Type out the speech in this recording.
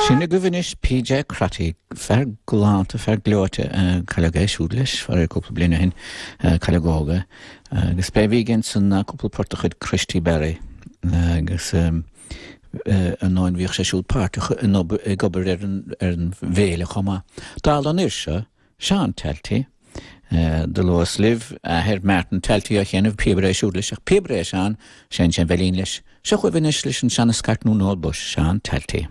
Sin agaibh anois PJ Crotty, fear galánta, fear gleoite, cailleadh é siúd leis, faraor, cúpla bliain ó shin, cailleadh óg é, agus b'é a bhí aige ansan ná cúpla port de chuid Christy Barry, agus ar ndóin bhíodh sé siúd páirteach in obair, ag obair ar an, ar an bhféile chomh maith. Dála an fhir seo, Seán Talty, do luas libh athair Martin Talty ó chianaibh, píobaire é siúd leis, ach píobaire é Seán, seinneann sé an veidhlín leis. Seo chugaibh anois leis an seana-scairt nó Noel Bush, Seán Talty.